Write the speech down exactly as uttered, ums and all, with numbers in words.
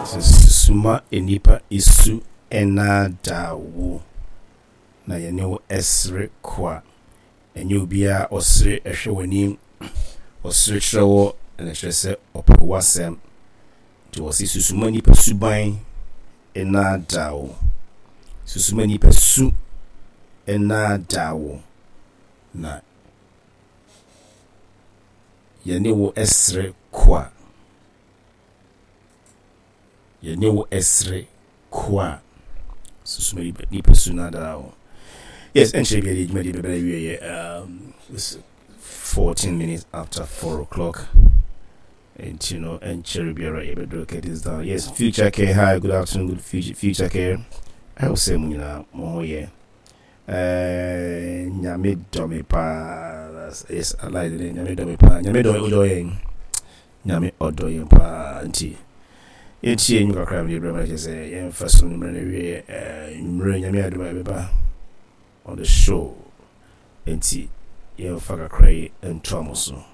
Susu ma nnipa su nnaadaa wo, na yɛne wo sere kwa. Ɛnyɛ obiara a ɔsere hwɛ w'anim, ɔsere kyerɛ wo na ɛkyerɛ sɛ ɔpɛ w'asɛm. Nti wɔse susu ma nnipa suban nnaadaa wo. Susu ma nnipa su nnaadaa wo, na yɛne wo sere kwa. Yɛne wo sere kwa. Susu ma nnipa su nnaadaa wo. Yes, ɛnkyerɛ bi a dwumadi bɛbɛrɛ awieɛ. Um, it's fourteen minutes after four o'clock. And you know, and Cherry Biara yɛbɛduru get down. Yes, Future Care, hi, good afternoon, good future, future Care. I hope sɛ mo nyinaa mo ho yɛ. Uh, Nyame dɔ me paa. Yes, I like it. Nyame dɔ me paa. Nyame dɔ ɔdɔ yɛn. Nyame ɔdɔ yɛn paa. Nti yɛntie nnwom kakra mede brɛ ma kyerɛ sɛ yɛmfa so no mmerɛ no awie. Mmerɛ Nyame adom a yɛbɛba on the show. Nti yɛmfa kakra yi ntoa mo so.